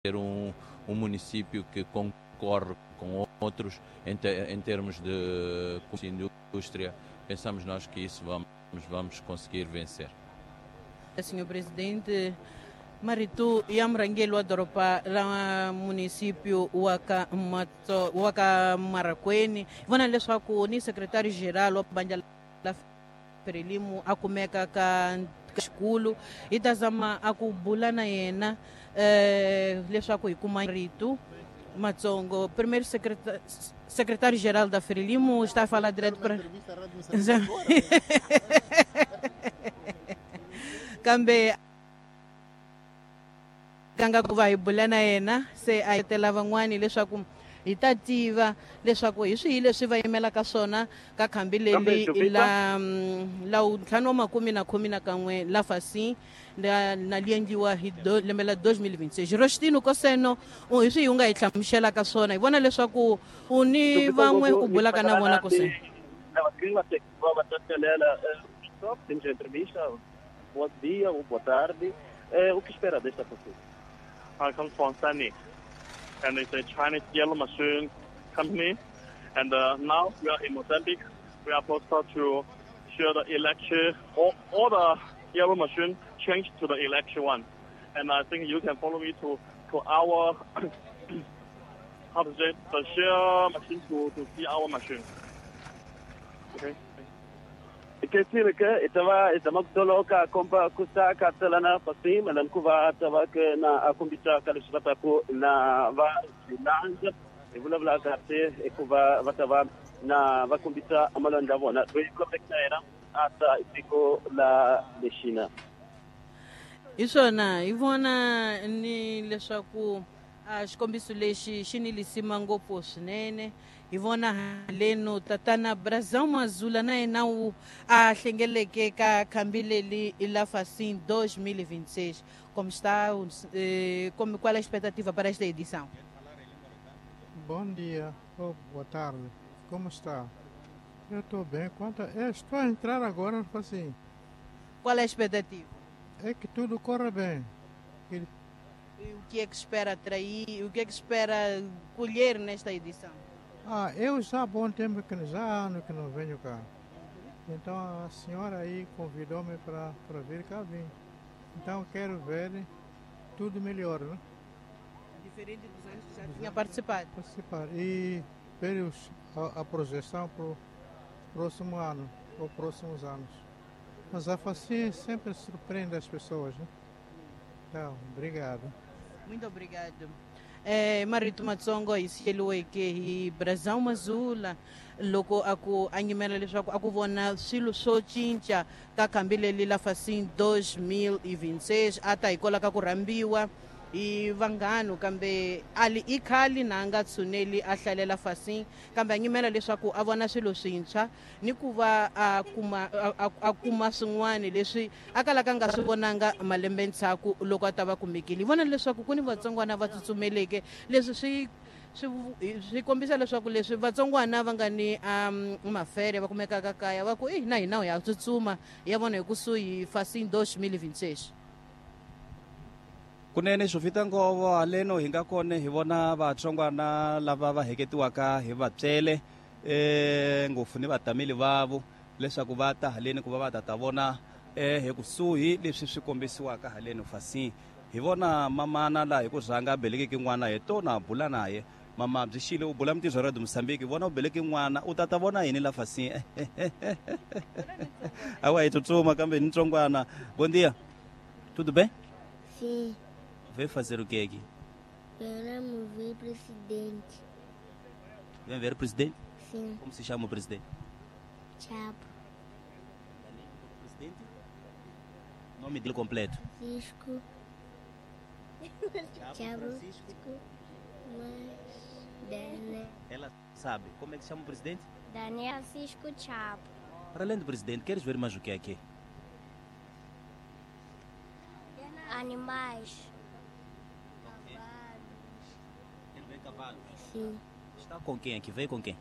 Ser um município que concorre com outros em termos de indústria. Pensamos nós que isso vamos conseguir vencer. Senhor Presidente, marito ya murhangeri wa doroba ra município wa ka wa ka Marracuene, vona leswaku ni secretary geral wa bandla la Frelimo a kumeka ka xikulu, hi ta zama a ku bula na yena leswaku hi kuma rito matsongo. Primeiro secretário geral da Frelimo está a falar direto para kambe kanga ku va hi bula na yena se a tela van'wani leswaku hi ta tiva leswaku hi swihi leswi va yimelaka swona ka khambi leri la 51 la Facim na li endliwa hi lembe la 2026. Rostino Koseno, hi swihi u nga hi hlamuselaka swona? Hi vona leswaku u ni van'we u bulaka na vona, Koseno. Bom dia ou boa tarde. O que espera desta pessoa? I come from Sany, and it's a Chinese yellow machine company. And now we are in Mozambique. We are supposed to share the electric, all the yellow machine change to the electric one. And I think you can follow me to our, how to say, the share machine to see our machine. Okay. Kesile ke itava itamakutoloka komba kusaka tselana Facim lankuva tava ke na akumbisa ka leswi va taku na va swilandza hi vulavula kahle hikuva va ta va na va kombisa malwandla vona loyi vulavuleke na yena a ta tiko la lexina. Hi swona hi vona ni leswaku a xikombiso lexi xi ni lisima ngopfu swinene. Hi vona haleno tatana Brazão Mazula na yena wu a hlengeleke ka khambi leri la Facim 2026. Como está, como, qual é a expectativa para esta edição? Bom dia ou boa tarde. Como está? Eu estou bem. Quanto eu estou a entrar agora, assim. Qual é a expectativa? É que tudo corra bem. E o que é que espera atrair? O que é que espera colher nesta edição? Ah, eu já há bom tempo que já há ano que não venho cá. Então a senhora aí convidou-me para vir cá, vim. Então quero ver tudo melhor, né? Diferente dos anos que já tinha participado. Participar e ver a projeção para o próximo ano ou próximos anos. Mas a Facim sempre surpreende as pessoas, né? Então, obrigado. Muito obrigado. Marito matsongo hi siyeliweke hi Brazão Mazula loko a ku a nyimela leswaku a ku vona swilo swo cinca ka khambi leri la Facim 2026, a ta hi kola ka ku rhambiwa hi vanghano kambe ali i khali na nga tshuneli a hlalela Facim, kambe a nyimela leswaku a vona swilo swintshwa ni ku va a kuma swin'wana leswi a kalaka nga swi vonanga malembe ndzhaku loko a ta va kumekile. Hi vona leswaku ku ni vatsongwana va tsutsumeleke, leswi swi kombisa leswaku leswi vatsongwana va nga ni mafere va kumekaka kaya va ku i na hina ya tsutsuma ya vona hi kusuhi Facim 2026. Kunene swo fita ngovo haleno hi nga kona hi vona vatsongwana lava va heketiwaka hi vatswele ngopfu ni vatameli vavo leswaku va ta haleni ku va va ta vona hi kusuhi leswi swi kombisiwaka haleni Facim. Hi vona mamana laha hi ku rhanga belekeke n'wana hi tona bula naye. Mama byi xile u bula mitirho ra Mozambique, vona u beleke n'wana u tata vona yini la Facim? Awa hi tsutsuma kambe ni ntsongwana. Bom dia. Tudo bem? Sim. Veio fazer o que aqui? Queremos ver o presidente. Vem ver o presidente? Sim. Como se chama o presidente? Chapo. Presidente? Nome dele completo? Francisco. Chapo. Francisco. Mas Daniel. Ela sabe. Como é que se chama o presidente? Daniel Francisco Chapo. Para além do presidente, queres ver mais o que aqui? Animais. Cavalos. Quero ver cavalos? Sim. Está com quem aqui? Veio com quem?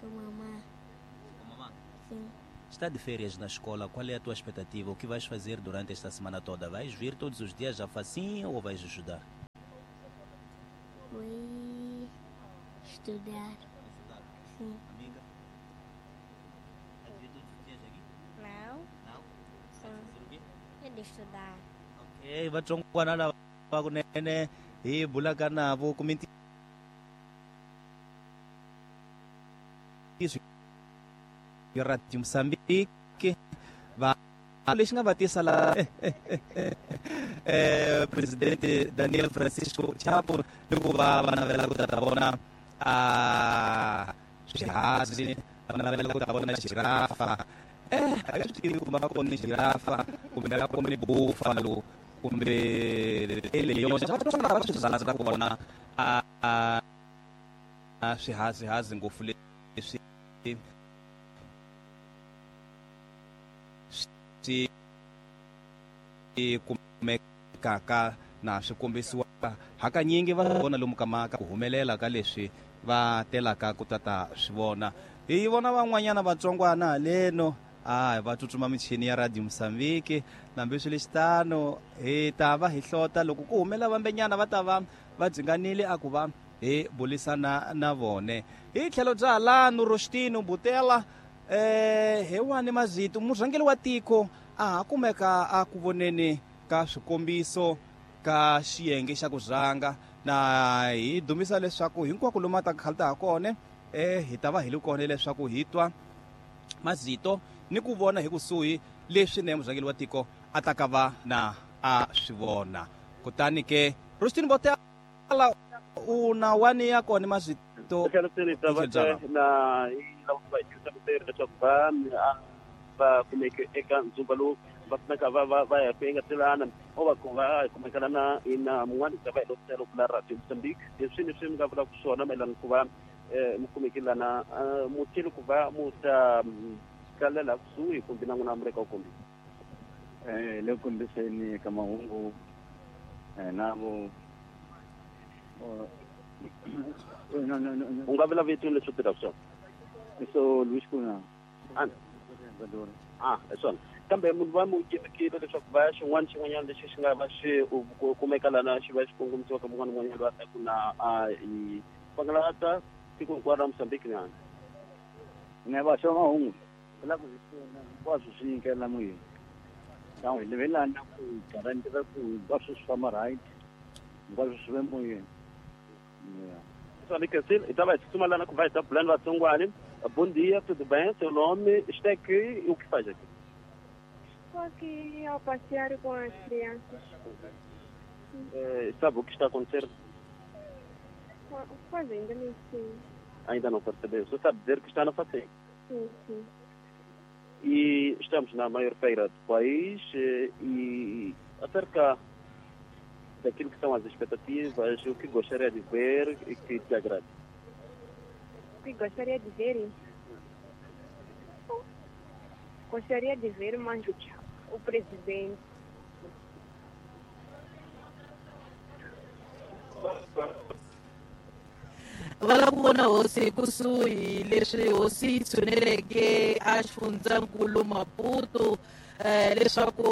Com mamãe. Com mamãe? Sim. Está de férias na escola, qual é a tua expectativa? O que vais fazer durante esta semana toda? Vais vir todos os dias à Facim ou vais ajudar? Vou estudar. Sim. Amiga? Não. Não? Sim. É de estudar. Ok, vatsongwana lava kunene hi bulaka navo kumbe Radio Mozambique va lexi nga va tisa la presidente Daniel Francisco Chapo ni ku va va navela ku ta vona a swihazi, va navela ku ta vona girafa. A nga swi tivi kumbe va kone girafa kumbe va kone buffalo kumbe leyo va swi rhandza ku vona a swihazihazi ngopfu leswi swi kumekaka na swi kombisiwaka hakanyingi va vona lomu ka maka ku humelela ka leswi va telaka ku tata swi vona. Hi vona van'wanyana vatsongwana haleno a va tsutsuma michini ya Radio Mozambique nambi swi lexitano hi ta va hi hlota loko ku humela vambenyana va ta va va dzinganile a ku va hi bulisana na vone. Hi tlhelo bya halano Rostino Butela hi wani mazito murhangeri wa tiko a ha kumeka a ku voneni ka swikombiso ka xiyenge xa ku rhanga na hi dumisa leswaku hinkwako lomu a ta khalta ha kona hi ta va hi li kona leswaku hi twa mazito ni ku vona hi kusuhi leswi ne murhangeri wa tiko a ta ka va na a swi vona. Kutani ke Rostino Butela u na wani ya kona mazito na leswaku va va kumeke eka ndzumba lowu va funeka va ya ku engetelana o va ku va kumekana na ina mun'wana ta va hi lotelo ku la Radio Mozambique leswi ni swi mi nga vulaka swona mayelana ku va mi kumekelana mutshilo ku va mu ta kalela kusuhi kumbe na n'wina mi ri ka kumbe le kombiseni ka mahungu navo u nga vula vito leswi tirhaka swona so Luis Kuna hi swona kambe munhu va mu yimekile leswaku va ya xin'wana xin'wanyana lexi xi nga va xi kumeka lana xi va xi kongomisiwaka mun'wana un'wanyana loyi a taku na hi pangalata tiko hinkwaro ra Mozambique nyana ne va xava mahungu la ku hinkwaswo swi nyikela moyeni hi levelana ku guarantee ku hinkwaswo swi famba right hinkwaswo swi ve moyeni. Hi ta va hi tsutsuma lana ku va hi ta bulani vatsongwani. Bom dia, tudo bem? Seu nome? Está aqui e o que faz aqui? Estou aqui ao passear com as crianças. Sabe o que está a acontecer? Pois ainda não sei. Ainda não percebeu? Você sabe dizer que está na FACEM? Sim, sim. E estamos na maior feira do país e acerca daquilo que são as expectativas, o que gostaria de ver e que te agrada? O que gostaria de ver? Gostaria de ver mais o presidente. Va lava ku vona hosi kusuhi leswi hosi yi tshuneleke a xifundzankulu Maputo leswaku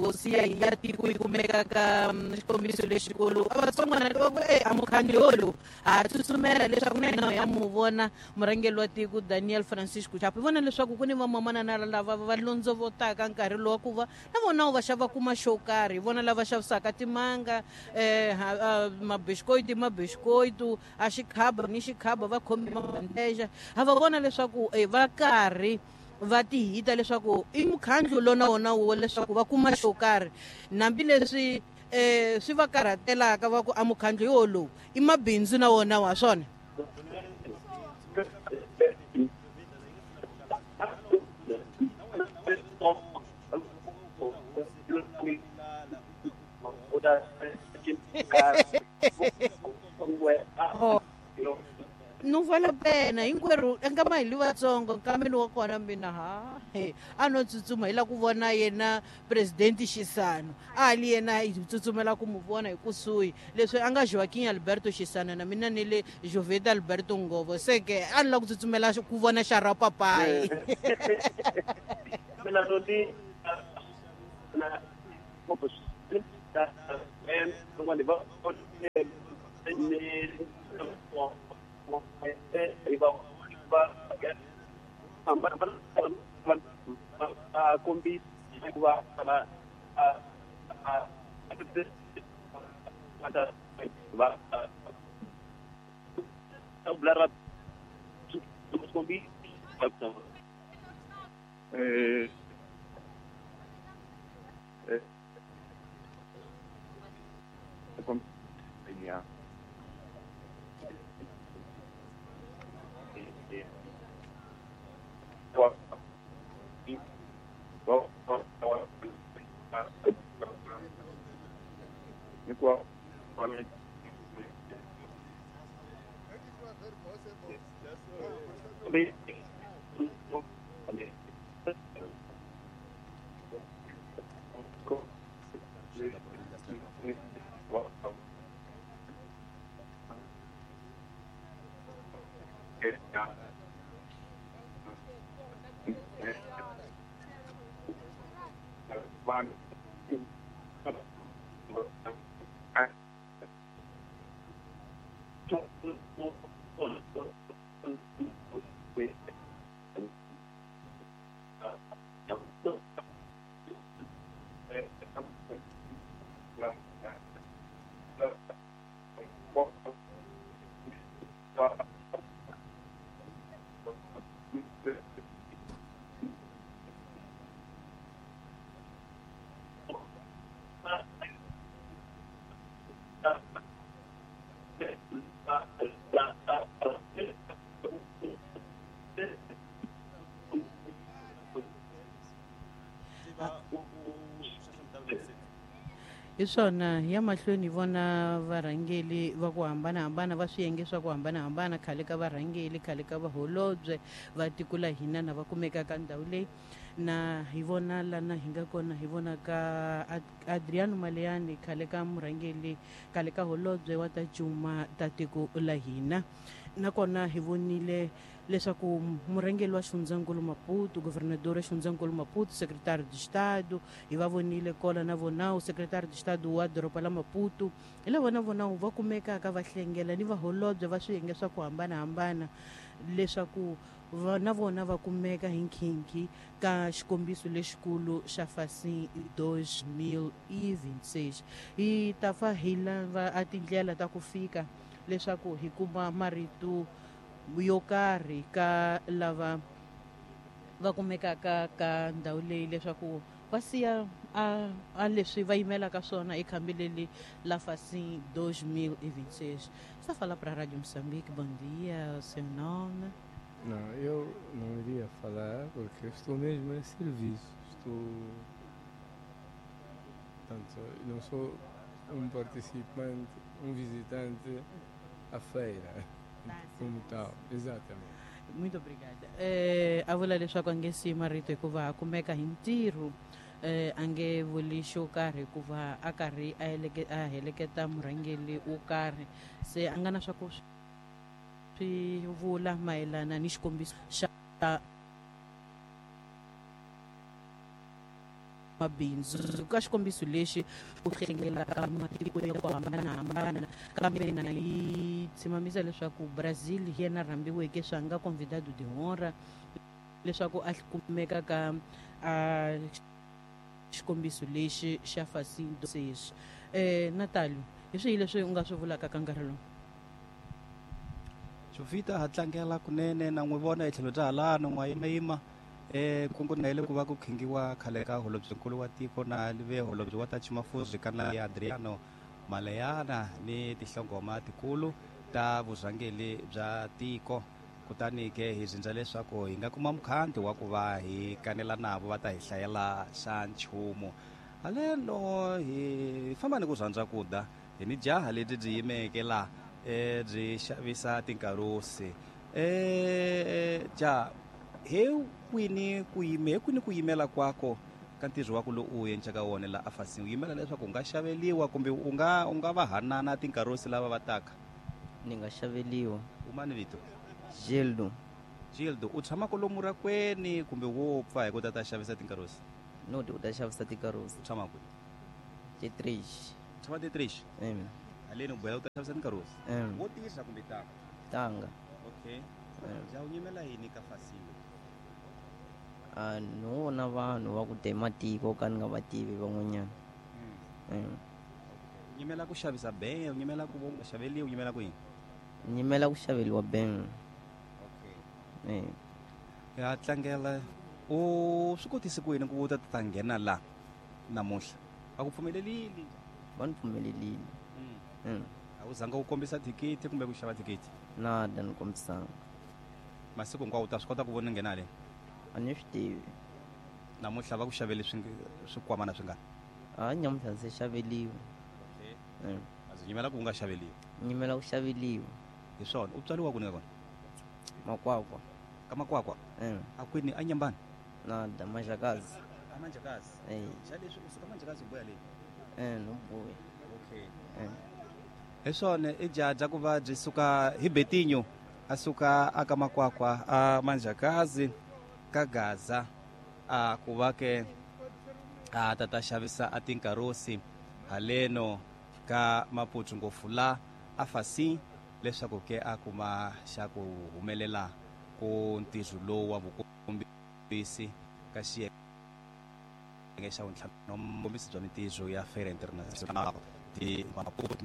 hosi ya ya tiko yi kumeka ka xikombiso lexikulu. A vatsongwana va ku a mukhandli wolowu ha tsutsumela leswaku na hina ya mu vona murhangeri wa tiko Daniel Francisco Chapo. Hi vona leswaku ku ni vamamanana lava va londzovotaka nkarhi lowu wa ku va na vona va xava kuma xo karhi. Hi vona lava xavisaka timanga mabishikoiti a xikhaba ni xikhaba va khome mabandeja. Ha va vona leswaku va karhi va tihita leswaku i mukhandlu lona wona wo leswaku va kuma xo karhi nambi leswi swi va karhatelaka va ku a mukhandlu yolowu i mabindzu na wona wa swona. Não vale a pena hinkwerhu nkama hi li vatsongo nkambeni wa kona mina ha a no tsutsuma hi la ku vona yena presidente Chissano a li yena hi tsutsumela ku mu vona hi kusuhi leswi a nga Joaquim Alberto Chissano na mina ni le Joveta Alberto Ngovo se ke a ni la ku tsutsumela ku vona xara papayi. Hi swona hi ya mahlweni hi vona varhangeli va ku hambanahambana va swiyenge swa ku hambanahambana, khale ka varhangeli, khale ka vaholobye va tiko la hina na va kumeka ka ndhawu leyi. Na hi vona lana hi nga kona, hi vona ka Adriano Maleiane, khale ka murhangeli, khale ka holobye wa ta cuma ta tiko la hina. Nakona hi vonile leswaku murhangeri wa xifundzankulu Maputo, governador wa xifundzankulu Maputo, secretário de Estado, hi va vonile kola na vonawu, secretário de Estado wa doroba la Maputo, hi lava na vonawu va kumekaka va hlengela ni vaholobye va swiyenge swa ku hambanahambana leswaku na vona va kumeka hi nkhinkhi ka xikombiso lexikulu xa Facim 2026. Hi ta fa hi lava a tindlela ta ku fika leswaku hi kuma marito yo karhi ka lava va kumekaka ka ndhawu leyi leswaku va siya a leswi va yimelaka swona ekhambi leli la Facim 2026. Está a falar para a Rádio Moçambique. Bom dia, o seu nome? Não, eu não iria falar porque estou mesmo em serviço. Portanto, não sou um participante, um visitante à feira, como tal, exatamente. Muito obrigada. A vula leswaku a nge siyi marito hikuva a kumeka hi ntirho, a nge vuli xo karhi hikuva a karhi a heleketa murhangeri wo karhi, se a nga na swa ku swi vula mayelana ni xikombiso xa mabindzu. Ka xikombiso lexi ku hlengelaka matiko ya ku hambanahambana, kambe na yi tshimamisa leswaku Brazil hi yena rhambiweke swa nga convidado de honra leswaku a kumeka ka a xikombiso lexi xa Facim 2026. Natalio, hi swihi leswi u nga swi vulaka ka nkarhi lowu? Jovita ha tlangela kunene na n'wi vona hi tlhelo bya halano n'wa yimayima kungu na ile ku va ku khingiwa khale ka holobyenkulu wa tiko na live holobye wa ta Chimafuzi kana ya Adriano Maleiane ni tinhlongoma tikulu ta vurhangeri bya tiko. Kutani ke hi zindza leswaku hi nga kuma mukhanti wa ku va hi kanela navo va ta hi hlayela xa nchumu. Haleno hi famba ni ku rhandza ku da hi ni jaha lebyi byi yimeke la byi xavisa tinkarusi. Ja he kwini ku yime he kwini ku yimela kwako ka ntirho wa ku lowu u endlaka wona la a Facim, u yimela leswaku u nga xaveliwa kumbe u nga va hanana tinkarusi lava va taka? Ni nga xaveliwa. U mani vito? Gildo. Gildo, u tshama kwalomu rakweni kumbe wo pfa hi ku ta xavisa tinkarusi? No, u ta xavisa tinkarusi. U tshama kwihi? T3. U tshama T3? Haleni u boheka u ta xavisa tinkarosi. Wo tirha kumbe tanga? Tanga. Okay. Ja u nyimela yini ka Fasiwe? A no vona vanhu va ku te matiko ka ni nga va tivi van'wanyana. U nyimela ku xavisa beng, u nyimela ku u nga xaveliwi, u nyimela ku yini? Nyimela ku xaveliwa beng. Okay. Ya tlangela u swi kotise ku yini ku u ta ta nghena la namuntlha? A ku pfumelelile? Va ni pfumelelile. A wu zanga u kombisa thikithi kumbe ku xava thikithi? Nada ni kombisanga. Masiku hinkwawo u ta swi kota ku vona nghena haleni? A ni swi tivi. Namuntlha va ku xavele swikwamana swingani? A nyamuntlha ndzi xaveliwe. Okay. A ndzi nyimela ku u nga xaveliwi. Nyimela ku xaveliwa. Hi swona. U tswariwa kwini ka kona? Makwakwa. Ka Makwakwa? A kwini? A Nyambani? Nada, Manjakazi. A Manjakazi? Xa leswi u suka Manjakazi u boya le? No boya. Okay. Hi swona i jaja ku va byi suka hi Betinho a suka aka Makwakwa a Manjakazi ka Gaza a ku va ke a ta ta xavisa a tinkarosi haleno ka Maputo ngopfu la a Fasi leswaku ke a kuma xa ku humelela ku ntirho lowu wa vukombisi ka xiyenge xa vuntlhanu vukombisi bya mintirho ya Feira Internacional de Maputo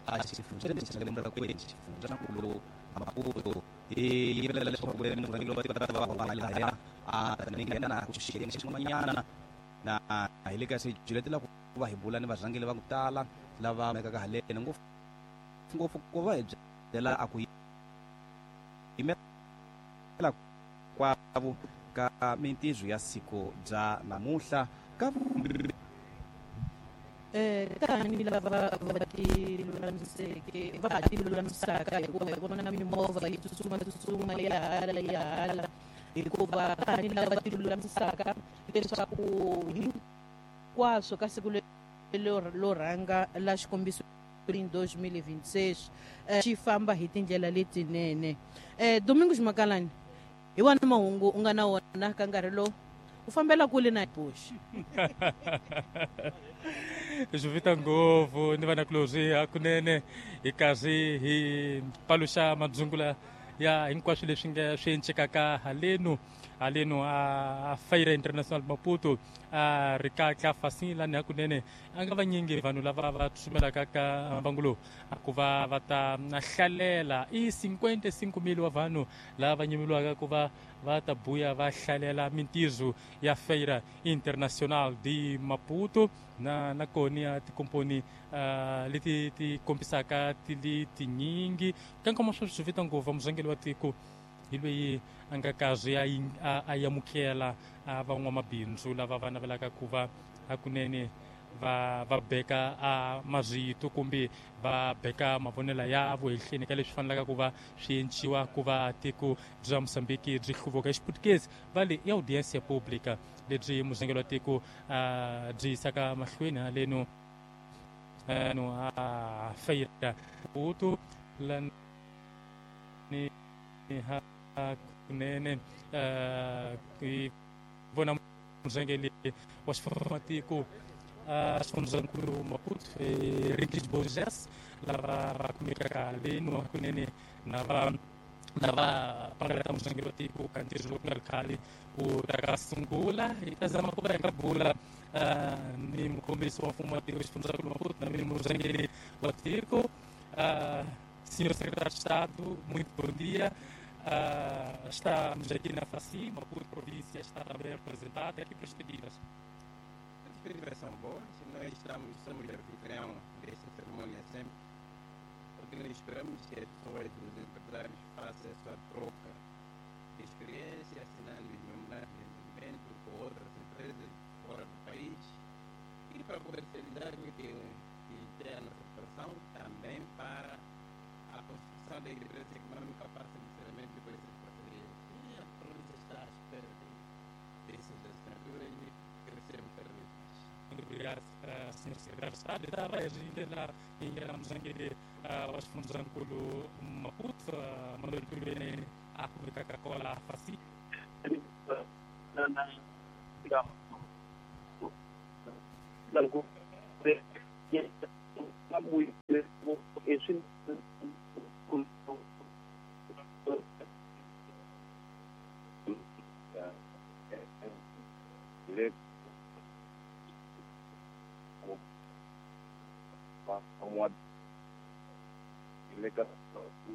a xifundzankulu Maputo hi yivelela leswaku ku murhangeri wa tiko ta va lahaya a ta nghena ku xiyenge xin'wanyana na hi le ka swijuletela ku va hi bula ni varhangeri va ku tala lava mekaka haleni ngopfu ngopfu ku va hi byela a ku yimela kwavo ka mintirho ya siku bya namuntlha ka tani lava va tilulamiseke va ha tilulamisaka hikuva hi vona mimovha yi tsutsuma tsutsuma ya hala ya hala hikuva tani lava tilulamisaka leswaku hinkwaswo ka siku lero rhanga la xikombiso 2026 xi famba hi tindlela letinene. Domingos Makalani, hi wona mahungu u nga na wona ka nkarhi lowu u fambela kule na Bush. Swi vita ngopfu ni vanakulorhi hakunene hi karhi hi paluxa madzungula ya hinkwaswo leswi nga swi encekaka haleno haleno a Feira International Maputo a ri ka Fasi lani hakunene a nga vanyingi vanhu lava va tsumelaka ka mbangu lowu ku va va ta hlalela i 55,000 wa vanhu lava va nyimeliwaka ku va va ta buya va hlalela mintirho ya Feira Internacional de Maputo na na kona ya tikomponi leti ti kombisaka ti li tinyingi ka nkama swo swi vita ngopfu muzangeli wa tiko hi loyi a nga karhi a amukela van'wamabindzu lava va navelaka ku va hakunene va va beka a marito kumbe va beka mavonelo ya vo ehenhleni ka leswi fanelaka ku va swi enciwa ku va tiko bya Mozambique byi hluvuka. Hi Xiputukezi va le i audiência pública lebyi muzangeli wa tiko byi yisaka mahlweni haleno no a Feira Maputo lani hakunene hi vona muzangeli wa xifumatiko xifundzankulu Maputo Henriques Borges lava va kumekaka haleno hakunene na va na va pangalata muzangeli wa tiko ka ntirho lowu ku nga ri khale wu ta ka sungula. Hi ta zama ku va hi nga bula ni mukombisi wa mfumo wa tiko xifundzankulu Maputo na mina muzangeli wa tiko. Senhor Secretário de Estado, muito bom dia. Estamos aqui na FACI, Maputo província está também representada. Que perspectivas? As perspectivas são boas. Nós somos anfitrião desta cerimônia sempre. O que nós esperamos é que as pessoas, os empresários, façam a sua troca de experiência, assinando os memorandos de entendimento com outras empresas fora do país e para comercializar o que tem a nossa exportação, também para a construção da independência econômica passa necessariamente por essas parcerias. E a província está à espera dessas assinaturas e crescermos cada vez mais. Muito obrigado, Sr. Secretário de Estado. Estava a muzangeli wa xifundzankulu Maputo, Manuel Tulene a kumekaka kola Fasi. I swi le le ka.